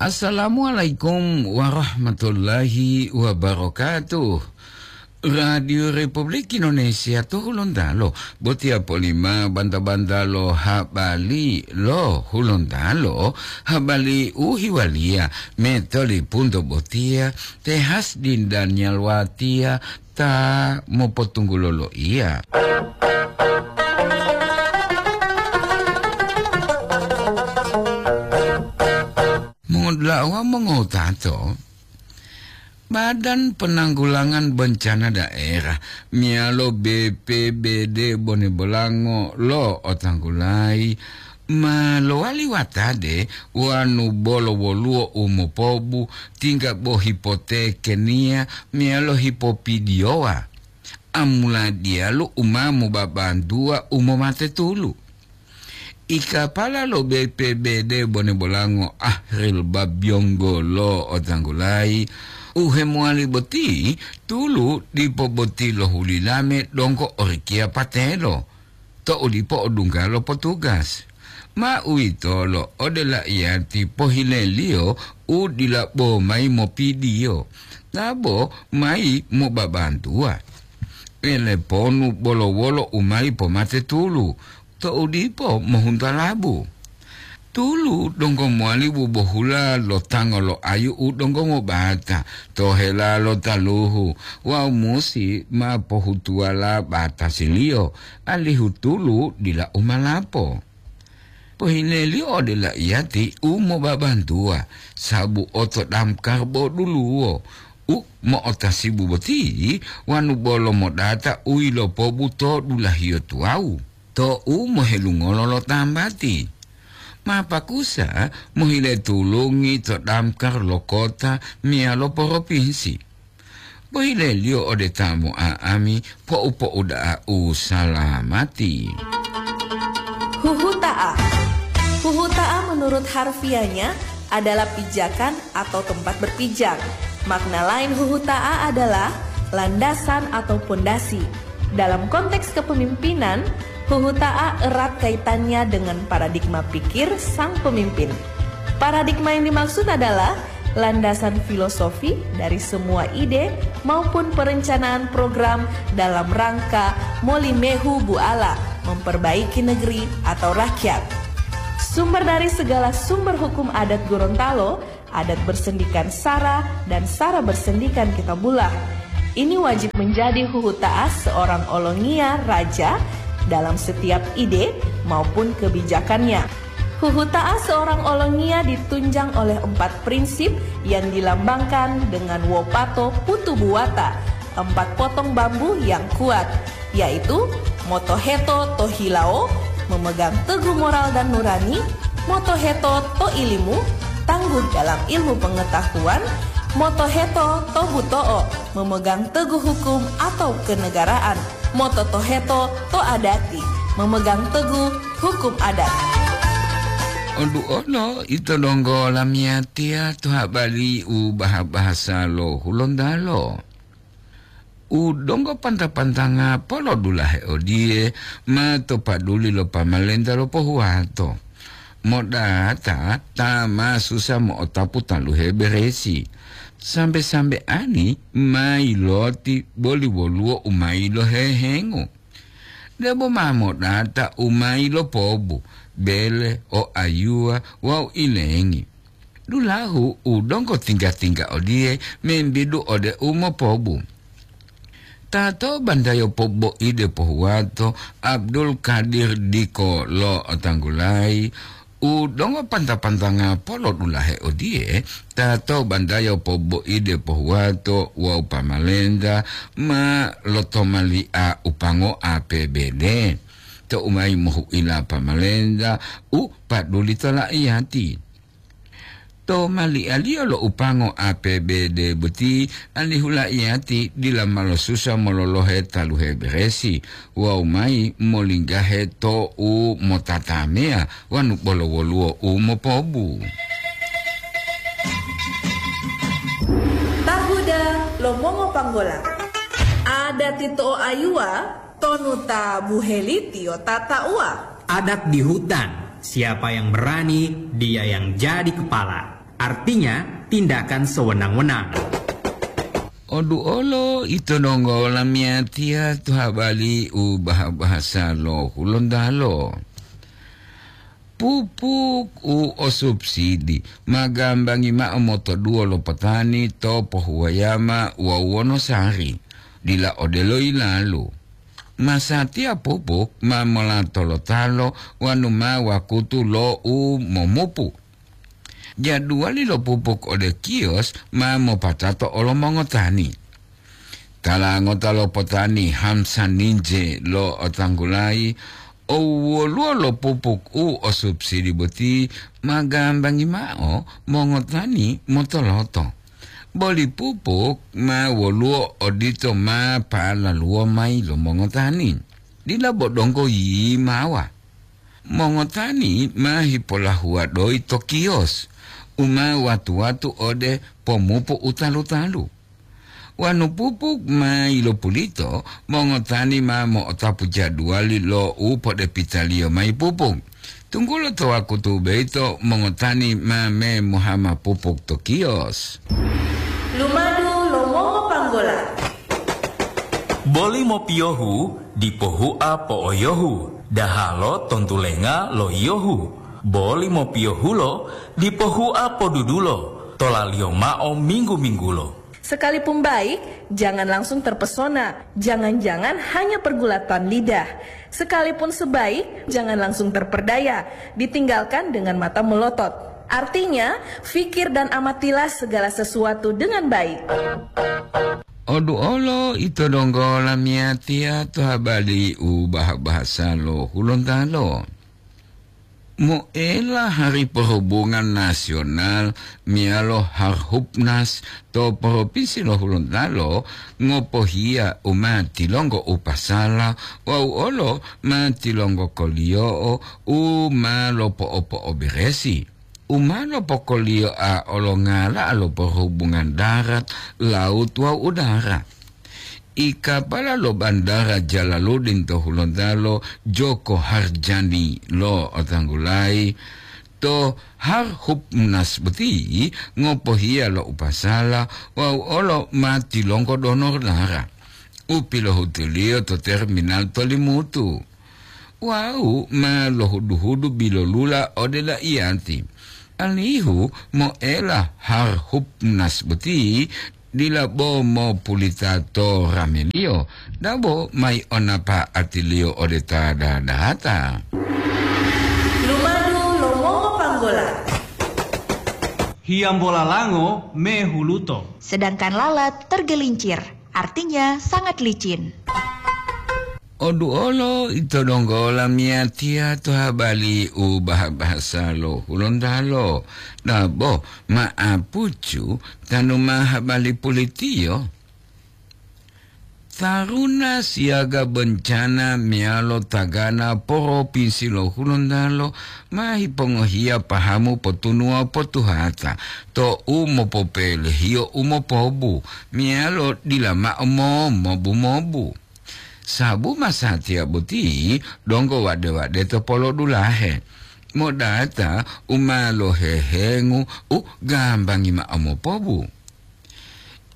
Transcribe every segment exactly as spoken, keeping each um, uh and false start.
Assalamualaikum warahmatullahi wabarakatuh. Radio Republik Indonesia to Hulontalo, botiya polima banta-banta lo habari lo Hulontalo, habari u hiwaliya metolipunto botiya, te Hasdin Daniel Watiya ta mopotunggulo loiya. Mongodula'a wawu mongotato, Badan Penanggulangan Bencana Daerah meyalo B P B D Bone Bolango lo otanggulayi ma lowali watade wanu bolo woluwo u mopobu tingga bo hipotekeniya meyalo hipopidiyowa, amula diyalu u ma mobabantuwa u momate tulu. Ikapala lo B P B D Bone Bolango Ahril Babiyonggo lo otanggulayi, u hemowali boti tulu dipo boti lohulilame donggo orikiya patelo, to'u dipo odungga lo potugas. Ma uwitolo ode laiyati pohileliyo u dila bo mayi mopidiyo, ta bo mayi mobabantuwa. Eleponu bolo wolo u mayi pomate tulu, to'u dipo mohunta labu. Tulu donggo mowali bubohula lo tango lo ayu u donggo mobata to hela lo taluhu wawu musi ma pohutuwala batasiliyo, alihu tulu dila u malapo. Pohileliyo ode laiyati u mobabantuwa, sabu oto damkar bo duluwo u mo'otasibu boti wanu bolo modata u yilopobu to dulahiyo tuwawu. To'u mohelungolo lo tambati, ma pakusa mohile tulungi to damkar lo kota meyalo poropinsi. Pohileliyo ode ta mo'a'ami po'u-po'u da'a u salamati. Huhuta'a. Huhuta'a menurut harfiahnya adalah pijakan atau tempat berpijak. Makna lain huhuta'a adalah landasan atau pondasi. Dalam konteks kepemimpinan, huhuta'a erat kaitannya dengan paradigma pikir sang pemimpin. Paradigma yang dimaksud adalah landasan filosofi dari semua ide maupun perencanaan program dalam rangka molimehu buala memperbaiki negeri atau rakyat. Sumber dari segala sumber hukum adat Gorontalo, adat bersendikan sara dan sara bersendikan kitabullah. Ini wajib menjadi huhuta'a seorang olongiya raja dalam setiap ide maupun kebijakannya. Huhuta'a seorang olongiya ditunjang oleh empat prinsip yang dilambangkan dengan wopato putu buwata, empat potong bambu yang kuat, yaitu motoheto to hilawo, memegang teguh moral dan nurani, motoheto to ilimu, tangguh dalam ilmu pengetahuan, motoheto to buto'o, memegang teguh hukum atau kenegaraan, mototoheto to adati, memegang teguh hukum adat. Odu'olo ito donggo lamiyatiya to habari u baha-bahasa lo Hulontalo. U donggo panta-pantanga polodulahe odiye ma to paduli lo pamalenta lo pohuwato. Modata ta ma susa mo'otapu taluhe beresi. Sambe-sambeani ma yiloti boli woluwo u ma yilohehengo. Debo ma modata u ma yilopobu, bele, o ayuwa wawu ilengi. Dulahu u donggo tingga-tingga odiye membidu ode u mopobu. Tato bandayo poboide pohuwato Abdul Kadir Diko lo otanggulayi, u donggo panta-pantanga polodulahe odiye, tato bandayo poboide pohuwato wawu pamalenta ma lotomali'a upango A P B D. To umayi mohu'ila pamalenta u paduli to la'iyati. To mali'aliyo lo upango A P B D boti, alihu la'iyati dila ma losusa mololohe taluhe beresi wawu mayi molinggahe to u motatameya wanu bolo woluwo u mopobu. Tahuda lo mongopanggola. Adati to'o ayuwa, tonu ta buhelitiyo tata'uwa. Adat di hutan, siapa yang berani, dia yang jadi kepala. artinya tindakan sewenang-wenang. Oduolo ito donggo lamiyatiya to habari u baha-bahasa lo Hulontalo. Pupuk u o subsidi ma gambangi mao motoduwo lo potani to pohuwayama wawu wonosari, dila odelo yilalu. Masatiya pupuk ma mola tolotalo wonu ma wakutu lo u momupu. Jaduwali lo pupuk ode kios ma mopatato olo mongotani. Tala ngota lo potani hamsa ninje lo otanggulayi, o woluwo lo pupuk u o subsidi boti ma gambangi mao mongotani motoloto. Boli pupuk ma woluwo odito ma palaluwo mayi lo mongotani, dila bo donggo yimawa. Mongotani ma hipolahuwa doyi to kios u ma watu-watu ode pomupu u talu-talu. Wonu pupuk ma yilopulito, mongotani ma mo'otapu jaduwali lo u podepitaliyo mayi pupuk, tunggulo to wakutu boyito mongotani ma memohama pupuk to kios. Lumadu lo mongopanggola. Boli mopiyohu dipo hua po'oyohu, dahalo tontulenga lo yiyohu. Boli mopiyohulo dipo hua podudulo, tolaliyo mao minggu-minggulo. Sekalipun baik, jangan langsung terpesona. Jangan-jangan hanya pergulatan lidah. Sekalipun sebaik, jangan langsung terperdaya. Ditinggalkan dengan mata melotot. Artinya, fikir dan amatilah segala sesuatu dengan baik. Oduolo ito donggo lamiyatiya to habari u baha-bahasa lo Hulontalo. Moela Hari Perhubungan Nasional meyalo Harhubnas to Propinsi lo Hulontalo ngopohiya u ma tilonggo u pasala wawu olo ma tilonggo koliyo'o u ma lopo'opo'oberesi, u ma lopokoliyoa olongala'a lo perhubungan darat, laut wawu udara. I kapala lo Bandara Jalaluddin to Hulontalo, Joko Harjani lo otanggulayi, to Harhubnas boti ngopohiya lo u pasala wawu olo ma tilonggo donor dara u pilohutuliyo to terminal to Limutu. Wawu ma lohudu-hudu bilolula ode daiyati, alihu moela Harhubnas boti dila bo mopulita to rameliyo, dabo mayi onapa'atiliyo ode ta dadata. Lumadu lo mongopanggola. Hiyambola lango mehuluto. Sedangkan lalat tergelincir, artinya sangat licin. Oduolo ito donggo lamiyatiya to habari u baha-bahasa lo Hulontalo, dabo ma'apucu tanu ma habari pulitiyo. Taruna siyaga bencana meyalo tagana Propinsi lo Hulontalo ma hipongohiya pahamu potunuwa potuhata to u mopopelehiyo u mopobu meyalo dila mao momobu-mobu. Sabu masatiya boti donggo wade-wade to polodulahe, modata u ma lohehengu u gambangi mao mopobu.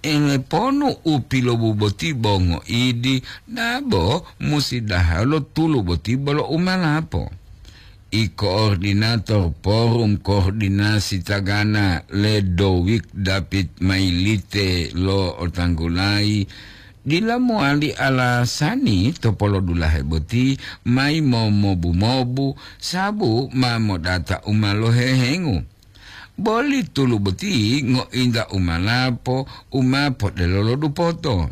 Eleponu u pilobu boti bo ngoidi, dabo musi dahalo tulu boti bolo umalapo. I koordinator Forum Koordinasi Tagana Ledowik David Mailite lo otanggulayi, dila mowali alasani to polodulahe boti mayi momobu-mobu sabu ma modata u ma lohehengu. Boli tulu boti ngointa u malapo u ma podelolo dupoto.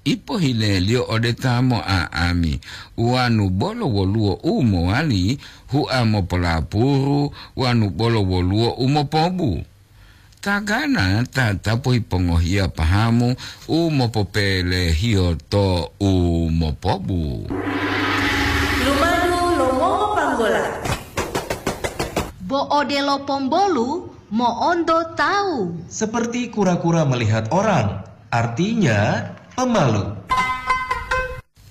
Ipohileliyo ode ta mo'a'ami, wanu bolo woluwo u mowali hua mopolapuru, wanu bolo woluwo u mopobu. Tagana tatapu hipongohiya pahamu u mopopelehiyo to u mopobu. Lumadu lo mongopanggola. Bo odelo pombolu mo'onto tawu. Seperti kura-kura melihat orang, artinya pemalu.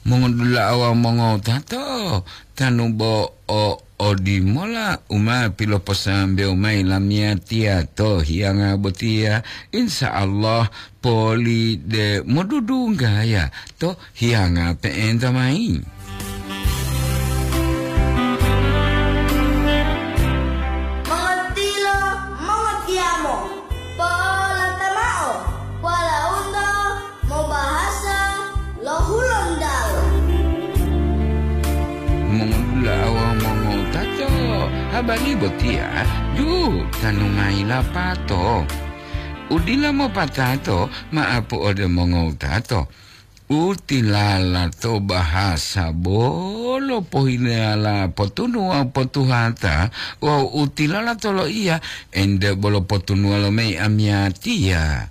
Mongodula'a wawu mongowutato, tanu bo o Odimola u ma piloposambewo mayi lamiyatiya to hiyanga botiya, insya Allah poli de modudunggaya to hiyanga pe'enta mayi. Mongotilo, mongotiyamo, polata mao, walaundo mobahasa lo Hulontalo. Mongodula'a wawu mongowutato, habari botiya ju tanu mayi lapato. U dila mopatato ma'apu ode mongowutato. U tilala to bahasa bolo pohilala potunu wawu potuhata, wawu u tilala to loiya ente bolo potunuwa lo mei amiyatiya.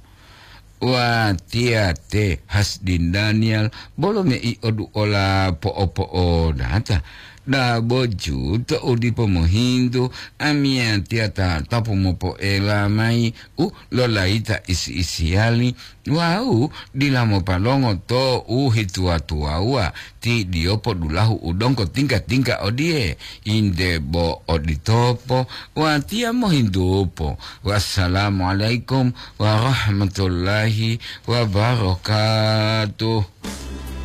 Watiya te Hasdin Daniel bolo mei oduola po'opo'odata. Dabo ju to u dipo mohintu, amiyatiya tatapu mopoela mayi u lolayita isi-isiyali wawu dila mopalongo to u hituwa-tuwawuwa ti diyopo dulahu u donggo tingga-tingga odiye, inde bo oditopo, watiya mohintupo. Wassalamualaikum warahmatullahi wabarakatuh.